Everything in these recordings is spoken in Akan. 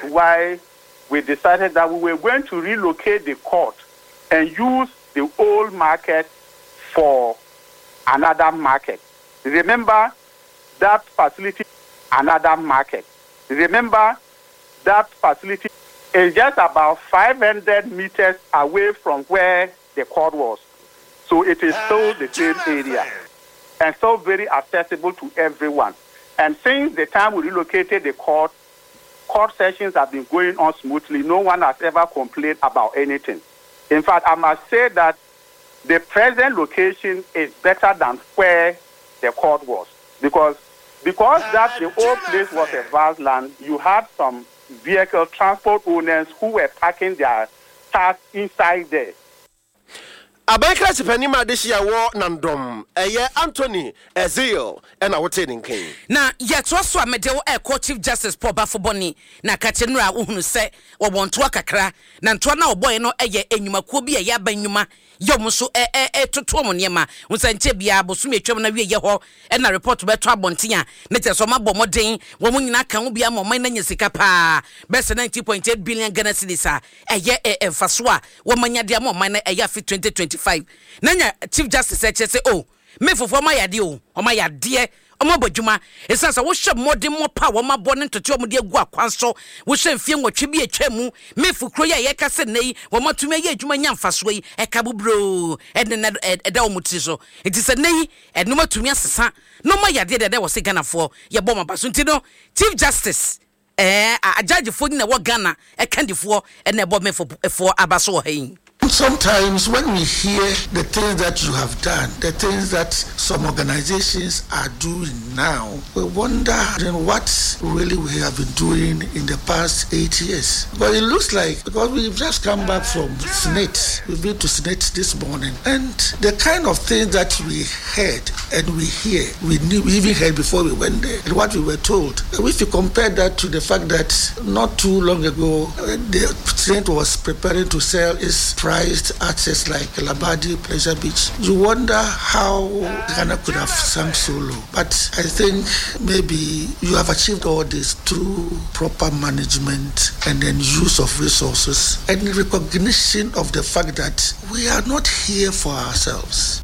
Why we decided that we were going to relocate the court and use the old market for another market. Remember that facility, another market. Remember that facility is just about 500 meters away from where the court was. So it is still the same area and still very accessible to everyone. And since the time we relocated the court, court sessions have been going on smoothly. No one has ever complained about anything. In fact, I must say that the present location is better than where the court was because that the old place was a vast land, you had some vehicle transport owners who were parking their cars inside there. Aban krakye panin ma adehye a ɛwɔ Nandom, ɛyɛ Anthony Ezeal na wotee ne nka yi. Na yɛtoa so a mede wo ɛrekɔ Chief Justice Paul Baffoe-Bonnie na ka kyerɛ nnora a wohunu sɛ wɔwɔ ntoa kakra na ntoa no a wɔbɔeɛ no yɛ nnwumakuo bi a ɛyɛ aban nnwuma yɛ wɔn nso retoto wɔn nneɛma ho sɛ nkyɛ biara bosome atwam no awieɛ hɔ na report bɛtɔ abɔnten a ne kyerɛ sɛ wɔn abɔ mmɔden wɔn nyinaa ka ho bi ama ɔman no anya sika paa bɛyɛ sɛ 19.8 billion Ghana cedis a ɛyɛ mfasoɔ a wɔn anya de ama ɔman no ɛyɛ afe 2025 na nya Chief Justice ɛkyerɛ sɛ oh Mayfofoɔ wɔn ayɛ adeɛ o wɔn ayɛ adeɛ wɔn abɔ adwuma ɛsiane sɛ wohwɛ mmɔdemmɔ pa a wɔn abɔ ne ntotoeɛ a wɔde agu akwan so wohwɛ mfeɛ nwɔtwe bi a atwa mu Mayfo kuro yi a yɛka sɛ nnɛ yi wɔn atumi ayɛ adwuma anya mfasoɔ yi ɛka buburoo ɛne na ɛda wɔn tiri so nti sɛ nnɛ yi ɛnom atumi asesa na wɔn ayɛ adeɛ deɛ ɛda wɔ sɛ Ghanafoɔ yɛbɔ wɔn aba so nti no Chief Justice Ɛɛ a judge foɔ nyina ɛwɔ Ghana ɛkandifoɔ ɛna ɛbɔ me foɔ aba so wɔ ha yi. Sometimes when we hear the things that you have done, the things that some organizations are doing now, we wonder then what really we have been doing in the past 8 years. But it looks like, because we've just come back from SSNIT, we've been to SSNIT this morning, and the kind of things that we heard and we hear, we knew, we even heard before we went there, and what we were told. If you compare that to the fact that not too long ago, the SSNIT was preparing to sell its prized assets like Labadi Pleasure Beach, you wonder how Ghana could have sunk so low. But I think maybe you have achieved all this through proper management and then use of resources and recognition of the fact that we are not here for ourselves.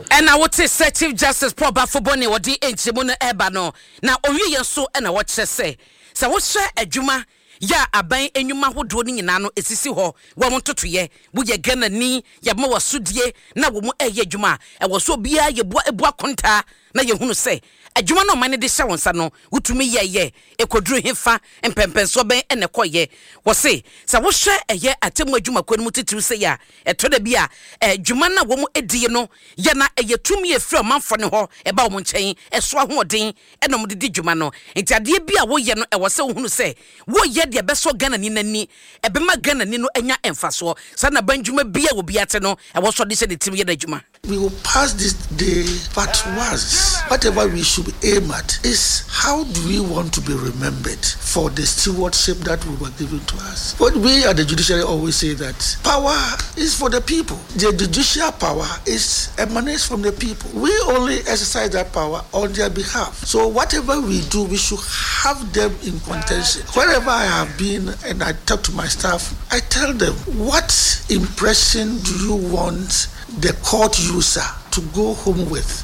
Ɛna wote sɛ Chief Justice Paul Baffoe-Bonnie wɔde nkyerɛmu no ɛreba no, na ɔwieɛ nso ɛna wɔkyerɛ sɛ sɛ wohyɛ adwuma yɛ a aban nnwuma ahodoɔ no nyinaa no ɛsisi hɔ wɔn ntotoyɛ woyɛ Ghanani yɛma w'asodie na wɔn ɛyɛ adwuma a ɛwɔ so obiara yɛbua ebu akontaa na yɛhunu sɛ adwuma no ɔman no de hyɛ wɔn nsa no wotumi yɛyɛ ɛkɔduru hefa mpɛmpɛnsoɔ bɛn ɛna ɛkɔyɛ. Wɔse sɛ wohwɛ ɛyɛ atemmu adwumakuo no mu titiriw sɛ yɛ a ɛtɔ da bi a adwuma no a wɔn adi no yɛ na ɛyɛ tumi efiri ɔmanfoɔ no hɔ ɛba wɔn nkyɛn ɛso ahoɔden ɛna wɔn de di dwuma no. Nti adeɛ bi a woyɛ no ɛwɔ sɛ wohunu sɛ woyɛ deɛ ɛbɛsɔ Ghanani n'ani ɛbɛma Ghanani no anya mfasoɔ saa na ban dwuma bi a obi ate no ɛwɔ so ɔde hyɛ ne tirim yɛ n'adwuma. We will pass this day but once. Whatever we should aim at is how do we want to be remembered for the stewardship that we were given to us. But we at the judiciary always say that power is for the people. The judicial power is emanates from the people. We only exercise that power on their behalf. So whatever we do, we should have them in contention. Wherever I have been and I talk to my staff, I tell them, "What impression do you want the court user to go home with?"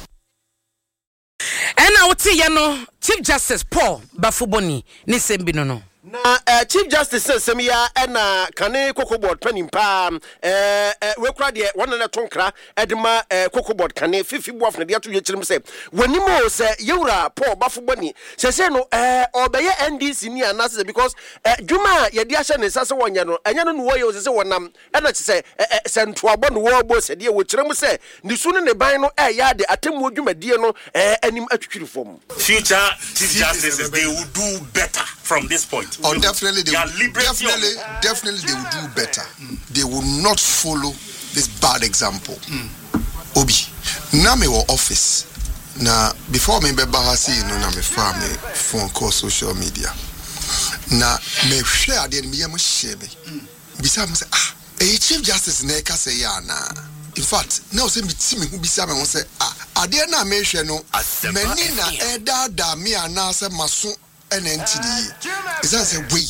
Ɛna woteyɛ no Chief Justice Paul Baffoe-Bonnie ne nsɛm bi no. Na Chief Justice sɛ nsɛm yi a ɛna kane Cocoa Board panin paa wekura deɛ wɔn na ɛto nkra ɛde ma Cocoa Board kane Fifi Boafo na de ato dwa kyerɛ mu sɛ wɔnim o sɛ yɛwura Paul Baffoe-Bonnie sɛsɛ no ɔbɛyɛ NDC ni anaasɛ sɛ because dwuma a yɛde ahyɛ ne nsa sɛ wɔnyɛ no ɛnyɛ no na wɔyɛ o sɛ sɛ wɔnam ɛna kyɛ sɛ sɛ ntoabɔ no wɔrebɔ sɛdeɛ wɔkyerɛ mu sɛ ne su ne ne ban no ɛyɛ ade atemmuo dwumadie no anim atwitwiri fam. Future chief justices, they will do better from this point. Oh, definitely, they Their will, liberty definitely, definitely, they will do better. They will not follow this bad example. Obi, na me wɔ office na before me bɛba ha sei no na me fa me phone call social media na mehwɛ adeɛ no meyɛ mo hyɛ me bisa mo sɛ, "Ah, ɛyɛ Chief Justice na ɛka sɛ yɛ anaa?" In fact, na ɔsɛ meti me ho bisa me ho sɛ, "Ah, adeɛ no a mehwɛ no, m'ani na ɛdaadaa me anaasɛ maso ɛna nti ne yie?" Ɛsiane sɛ wei